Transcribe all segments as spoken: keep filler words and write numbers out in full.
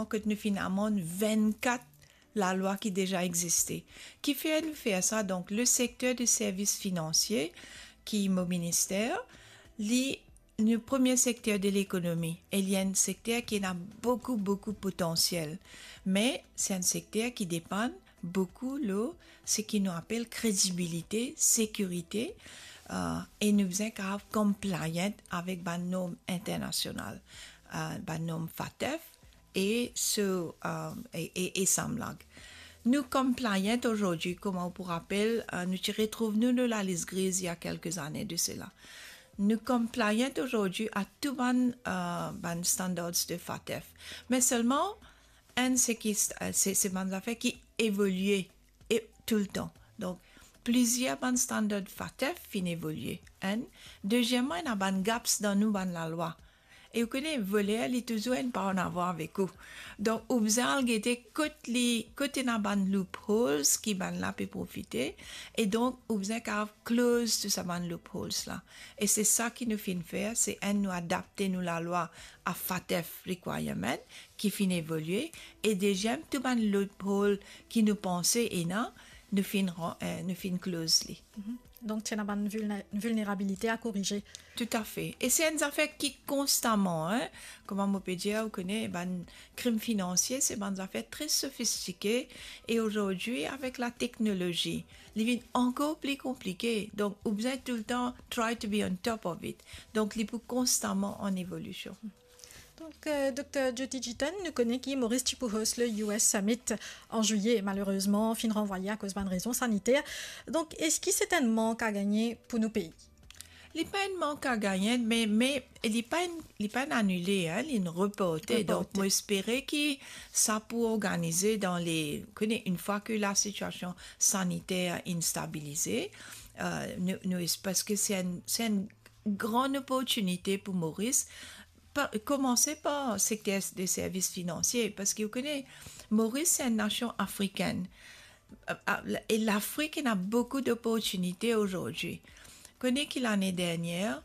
kot nou finn amann vennkat lalwa ki deza existe. Kifer nou fer sa? Donk, le sekter de servis finansie, ki mo minister, li nou premie sekter de lekonomi, e li enn sekter ki ena boukou, boukou potansiel. Me se enn sekter ki depann boukou lor seki nou apel kredibilite, sekirite, eh, e nou bizin kapav compliant avek bann norm internasional, eh, bann norm FATF, e so, eh, e, e, e samlag. Nou compliant azordi, kouma ou pou rapel, eh, nou ti retrouv nou lor lalis griz il y a quelques années de cela. Nou compliant azordi a tou bann, eh, bann standards de FATF. Me selman, enn, se ki st-, eh, se, se bann zafer ki evolie e toultan. Donk, plizier bann standard FATF finn evolie, enn. Dezieman, ena bann gaps dan nou bann lalwa. E ou kone, voler, li touzour enn pa an avan avek ou. Donk, ou bizin al gete kot li, kot ena bann loopholes ki bann la pe profite, e donk, ou bizin kapav close tou sa bann loopholes la. E se sa ki nou finn fer, se enn, nou adapte nou lalwa a FATF requirement ki finn evolie, e deziem, tou bann loophole ki nou panse ena, nou finn ran-, eh, nou finn close li. Mhm. Donk, ti ena bann vilne-, vilnerabilite a korize. Toutafe. E se enn zafer ki konstaman, hein, kouma mo pe dir, ou kone, bann krim finansie, se bann zafer tre sofistike, e azordi, avek lateknolozi, li vinn ankor pli konplike. Donk, ou bizin toultan try to be on top of it. Donk, li pou konstaman an evolision. Donk, eh, Dokter Jyoti Jiten, nou kone ki Moris ti pou host le U S Summit an zilye, malerezman, finn ranvwaye akoz bann rezon saniter. Donk, eski se enn mank a gagne pou nou pei? Li pa enn mank a gagne, me, me li pa enn, li pa enn anile, hein, li enn reporte. Reporte. Donk, mo espere ki sa pou organize dan le, kone, enn fwa ke lasitiasion saniter inn stabilize, eh, nou, nou es-, parski se enn, se enn gran oportinite pou Moris, pa, koumanse par sekter de servis finansie, parski ou kone, Moris se enn nasion afrikenn. A, a, e Lafrik ena boukou doportinite azordi. Kone ki lane dernier,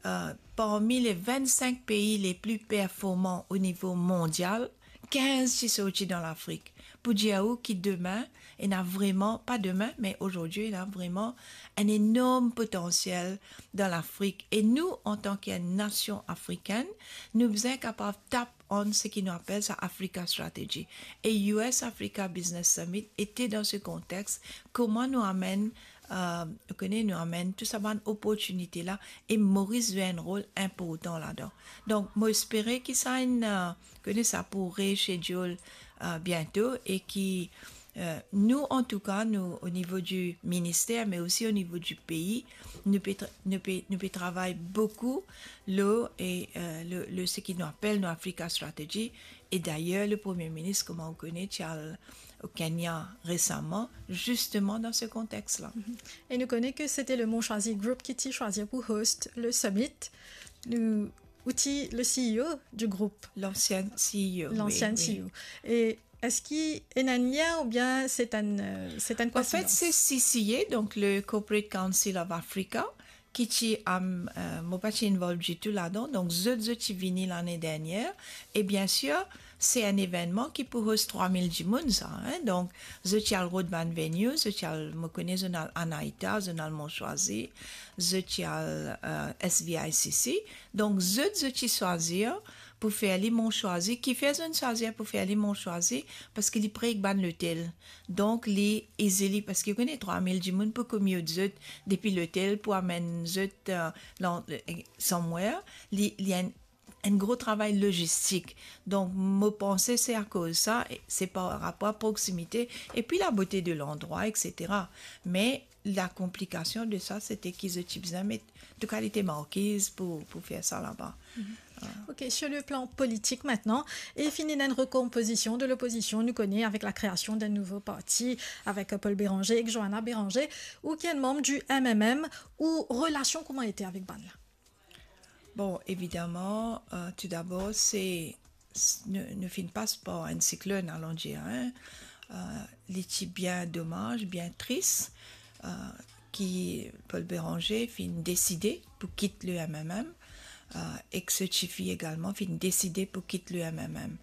eh, parmi le vennsenk pei le pli performan o nivo mondial, kinz ti sorti dan Lafrik. Pou dir ou ki demin, ena vreman, pa demin, me azordi, ena vreman enn enorm potansiel dan Lafrik. E nou, antan ki enn nasion afrikenn, nou bizin kapav tap on seki nou apel sa Africa Strategy. E U S Africa Business Summit ete dan se kontex, kouma nou amenn, eh, ou kone, nou amenn tou sa bann oportinite la, e Moris zwe enn rol inportan ladan. Donk, mo espere ki sa inn, eh, kone, sa pou reschedule, eh, biento, e ki, eh, nou, antouka, nou, o nivo di minister, me osi o nivo di pei, nou pe tra-, nou pe, nou pe travay boukou lor, e, eh, le, le, seki nou apel nou Africa Strategy. E dayer, le Premie Minis, kouma ou kone, ti al o Kenya resaman, zisteman dan se kontex la. Mhm. E nou kone ke sete le Mon Choisi Group ki ti swazir pou host le summit. Nou, ou ti le C E O du group. Lansien C E O, wi, lansien wi. C E O. E eski ena enn lien oubien se enn, eh, se enn koinsidans? Anfet, se C C A, donk le Corporate Council of Africa, ki ti, am, eh, mo pa ti involve ditou ladan. Donk, zot, zot ti vini lane dernier. E biensir, se enn evennman ki pou host trwa mil dimoun, sa, hein. Donk, zot ti al rod bann venue, zot ti al, mo kone, zot al Anahita, zot al Mon Choisi, zot ti al, eh, S V I C C. Donk, zot, zot ti swazir pou fer li Mon Choisi. Kifer zot swazir pou fer li Mon Choisi? Parski li pre ek bann lotel. Donk, li easily, parski ou kone trwa mil dimoun pou commute zot depi lotel pou amenn zot, eh, lan-, eh, somewhere. Li, li enn, enn gro travay lozistik. Donk, mo panse se akoz sa, e se par rapor a proksimite, epi labote de landrwa, et cetera. Me lakonplikasion de sa, sete ki zot ti bizin met tou kalite markiz pou, pou fer sa laba. Mhm. Ah. Ok, sur le plan politik aster, e finn ena enn rekonpozision de lopozision, nou kone, avek lakreasion d'enn nouvo parti, avek, eh, Paul Bérenger ek Johanna Bérenger, ou ki enn manm du M M M, ou relasion kouma ete avek bann la? Bon, evidaman, eh, toudabor, se, s-, nou, nou finn pas par enn siklonn, alon dir, hein. Eh, li ti bien domaz, bien tris, eh, ki Paul Bérenger finn deside pou kit le M M M, eh, ek so tifi egalman finn deside pou kit le M M M.